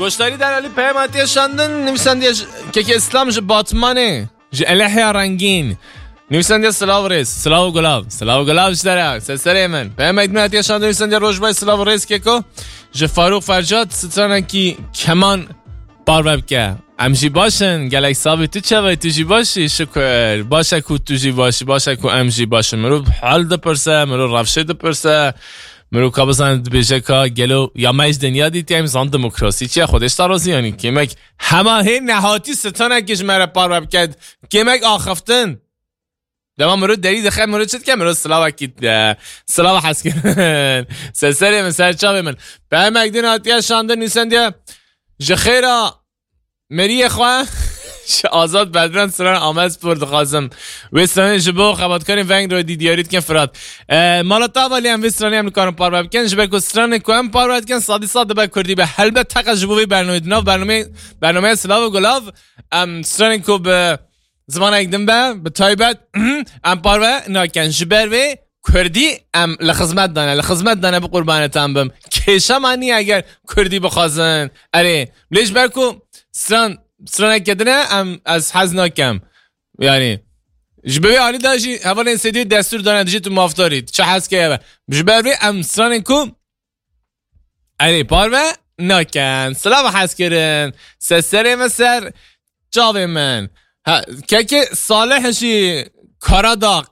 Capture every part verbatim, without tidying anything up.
Goşdarî delalî peyam hatiye şandin, nivîsandiye ji kekê Îslam ji Batmanê, ji Elehya Rengîn. Nivîsandiye silav rêz, silav û gulav, silav û gulav ji te re, ser serê min. Peyamek din hatiye şandin, nivîsandiye roj baş, silav û rêz keko. Ji Farûq Fercat stranekî keman parve bike. Em jî baş in, gelek savî tu çawa, tu jî baş î, şukur. Baş e ku tu jî baş î, baş e ku em jî baş in. Mirov hal dipirse, mirov rewşê dipirse. Mirov ka bizane dibêje ka gelo ya me ji dinya dîtiye, em zan demokrasî çi ye, Xwedê ji te razî yanî. Kêmek hema hê nehatî stranekê ji me re parve bike. Kêmek axiftin. Dema mirov derî dixe, mirov çi dike? Mirov silavekî, e, silava hez kirin. Ser serê min, ser çavê min. Peyamek din hatiye şandin, nivîsandiye. Ji xêra meriyê xwe ji Azad Bedran stran Amedspor dixwazim. Wê stranê ji bo xebatkarên Veng Royê dî diyarî dikin Firat. E, mala te ava lê em vê stranê em nikarin parve bikin. Ji ber ku stranê ku em parve dikin, sadî sad dibe kurdî be. Helbet teqe ji bo vê bernameyê, di nav bernameyê, bernameya Silav û Gulav, em stranên ku bi zimanek din be, bi taybet, em parve nakin. Ji ber vê kurdî em li xizmet dane, li xizmet dane, bi qurbanê te bim. Kêşe me niye eger kurdî bixwazin. Erê, lê ji ber ku stran, straneke din e, em, ez hez nakim. Yani, ji bo vê alî de jî hevalên Sêdî destûr dane, dijî tu mafdarî, tu çi hez keye be. Ji ber vê em stranên ku Erê, parve nakin. Silav hez kirin. Ser serê min, ser çavê min. Ha, kekê Salih jî Karadağ.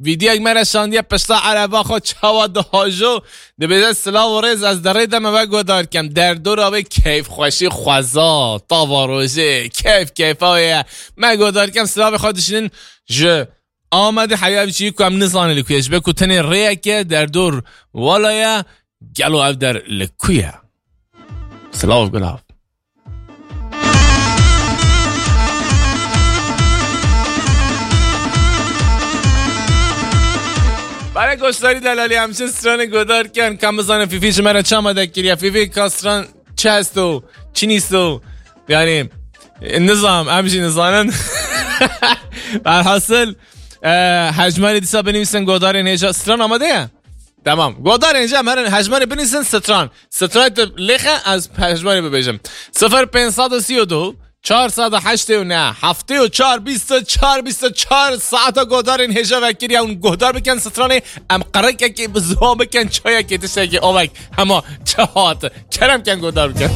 Vîdyoyek me re şandiye pişta ereba xwe çawa dihajo. Dibêje silav û rêz, ez di rê de me ve guhdar kem. Derdora wê keyfxweşî xweza, tava rojê, keyf keyfa wê ye. Me guhdar kem, silavê xwe dişînin ji Amedê heya vî çî ku em nizanin li ku ye. Ji ber ku tenê rêyeke derdor wala ye, gelo ev der li ku ye? Silav gulav. Bare goşdarî delalî, em çi stranê guhdar ken, ka em bizanin Fîfî ji me re çi amade kiriye. Fîfî, ka stran çi hest o, çi nîst o? Yani, e, nizam, em jî nizanin. Berhasil, e, hejmarê dîsa binivîsin godarên hêja. Stran amade ye? Tamam. Godarên hêja em herin hejmarê binivîsin stran. Stran te lêxe, ez hejmarê bibêjim. Sifir pênc sed û sî û du, çar sed û heştê û neh, heftê û çar, bîst û çar, bîst û çar saeta godarên hêja vekiriye hûn gohdar bikin stranê, em qirikekê bi ziwa bikin, çayekê, tiştekê, ovek, hema çi hat. Kerem ken gohdar bikin.